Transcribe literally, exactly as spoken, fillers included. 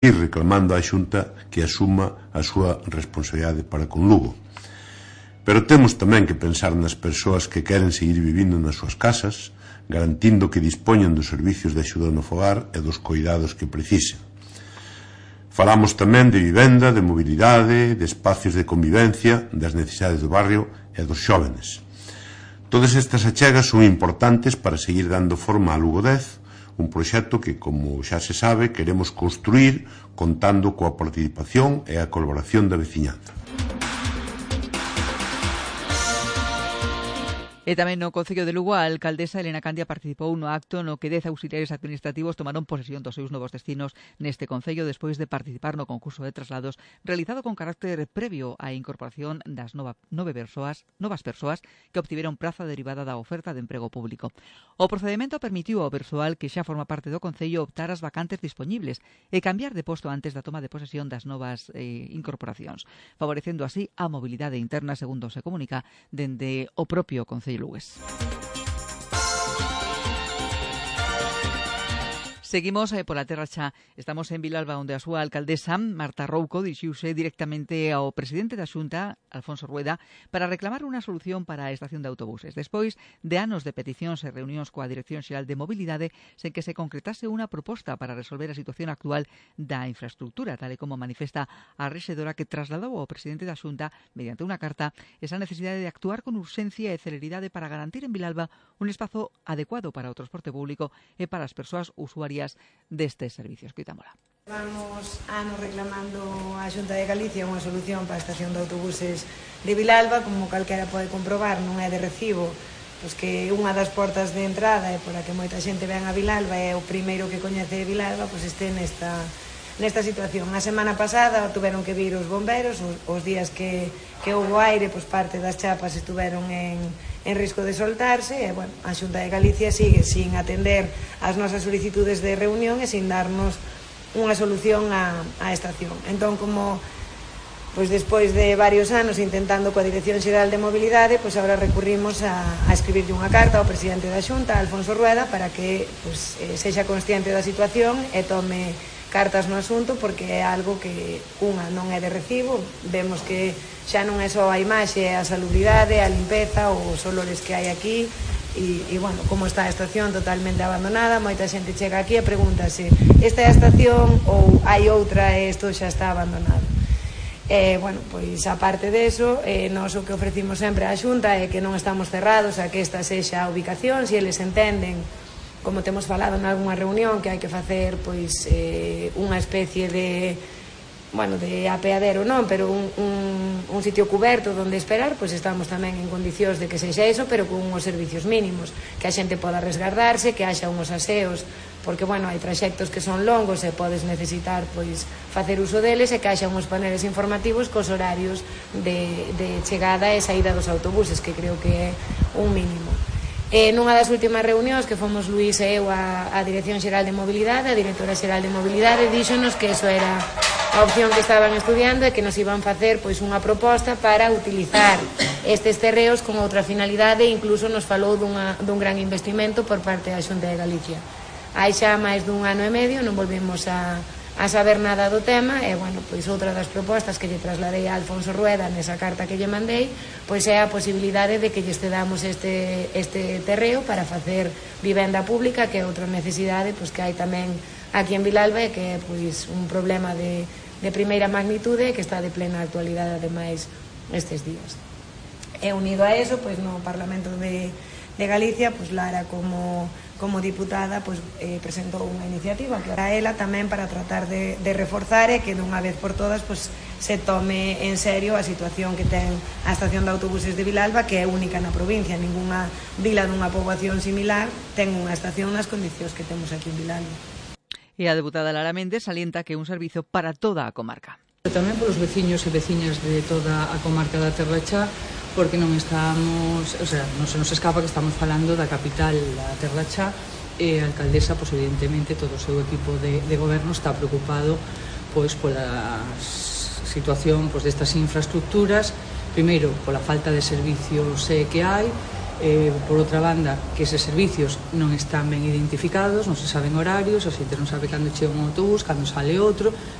e reclamando á Xunta que asuma a súa responsabilidade para con Lugo. Pero temos tamén que pensar nas persoas que queren seguir vivindo nas súas casas, garantindo que dispoñan dos servicios de axuda no fogar e dos coidados que precisen. Falamos tamén de vivenda, de mobilidade, de espacios de convivencia, das necesidades do barrio e dos xóvenes. Todas estas achegas son importantes para seguir dando forma a Lugo dez, un proxecto que, como xa se sabe, queremos construir contando coa participación e a colaboración da veciñanza. E tamén no Concello de Lugo, a alcaldesa Elena Candia participou no acto no que dez auxiliares administrativos tomaron posesión dos seus novos destinos neste Concello despois de participar no concurso de traslados realizado con carácter previo á incorporación das nova, nove persoas, novas persoas que obtiveron praza derivada da oferta de emprego público. O procedimento permitiu ao persoal que xa forma parte do Concello optar as vacantes dispoñibles e cambiar de posto antes da toma de posesión das novas eh, incorporacións, favorecendo así a mobilidade interna, segundo se comunica dende o propio Concello Lugués. Seguimos eh, pola terra xa. Estamos en Vilalba, onde a súa alcaldesa, Marta Rouco, dirixiuse directamente ao presidente da Xunta, Alfonso Rueda, para reclamar unha solución para a estación de autobuses. Despois de anos de peticións e reunións coa Dirección Xeral de Mobilidade, sen que se concretase unha proposta para resolver a situación actual da infraestructura, tal e como manifesta a rexedora que trasladou ao presidente da Xunta, mediante unha carta, esa necesidade de actuar con urxencia e celeridade para garantir en Vilalba un espazo adecuado para o transporte público e para as persoas usuarias destes servicios. Coitámola. Vamos anos reclamando á Xunta de Galicia unha solución para a estación de autobuses de Vilalba, como calquera pode comprobar, non é de recibo, pois que unha das portas de entrada e por a que moita xente ven a Vilalba é o primeiro que coñece Vilalba, pois este nesta nesta situación. A semana pasada tuveron que vir os bomberos, os, os días que, que houve aire, pois parte das chapas estuveron en en risco de soltarse e, bueno, a Xunta de Galicia sigue sin atender as nosas solicitudes de reunión e sin darnos unha solución á, á estación. Entón, como pois despois de varios anos intentando coa Dirección Xeral de Mobilidade, pois agora recurrimos a, a escribirlle unha carta ao presidente da Xunta, Alfonso Rueda, para que pois, eh, sexa consciente da situación e tome cartas no asunto, porque é algo que unha non é de recibo. Vemos que xa non é só a imaxe, a salubridade, a limpeza, os olores que hai aquí e, e bueno, como está a estación totalmente abandonada. Moita xente chega aquí e pregúntase, esta é a estación ou hai outra e isto xa está abandonado. E, bueno, pois aparte deso, eh, nós o que ofrecimos sempre á Xunta é que non estamos cerrados a que esta sexa a ubicación, se eles entenden, como temos falado en algunha reunión, que hai que facer pois eh, unha especie de bueno, de apeadero non, pero un, un, un sitio cuberto onde esperar, pois estamos tamén en condicións de que sexa eso, pero con uns servicios mínimos, que a xente poda resgardarse, que haxa uns aseos, porque, bueno, hai traxectos que son longos e podes necesitar, pois, facer uso deles, e que haxa uns paneles informativos cos horarios de, de chegada e saída dos autobuses, que creo que é un mínimo. E nunha das últimas reunións que fomos Luís e eu á, á Dirección Xeral de Mobilidade, a Directora Xeral de Mobilidade díxonos que eso era a opción que estaban estudiando e que nos iban facer pois unha proposta para utilizar estes terreos con outra finalidade, e incluso nos falou dunha, dun gran investimento por parte da Xunta de Galicia. Hai xa máis dun ano e medio non volvemos a a saber nada do tema e, bueno, pois outra das propostas que lle trasladei a Alfonso Rueda nesa carta que lle mandei, pois é a posibilidade de que lle cedamos este, este terreo para facer vivenda pública, que é outra necesidade pois que hai tamén aquí en Vilalba e que é pois un problema de, de primeira magnitude que está de plena actualidade ademais estes días. E unido a eso, pois no Parlamento de, de Galicia, pois Lara como como diputada pois, eh, presentou unha iniciativa que era ela tamén para tratar de, de reforzar e que dunha vez por todas pois, se tome en serio a situación que ten a estación de autobuses de Vilalba, que é única na provincia. Ninguna vila dunha poboación similar ten unha estación nas condicións que temos aquí en Vilalba. E a deputada Lara Méndez salienta que é un servizo para toda a comarca. Tamén polos veciños e veciñas de toda a comarca da Terra Xa, porque non estamos, o sea, non se nos escapa que estamos falando da capital da Terra Xa, e a alcaldesa, pois evidentemente todo o seu equipo de, de goberno está preocupado pois pola situación pois destas infraestructuras, primeiro pola falta de servicios que hai, Eh, por outra banda, que eses servicios non están ben identificados, non se saben horarios, a xente non sabe cando chega un autobús, cando sale outro,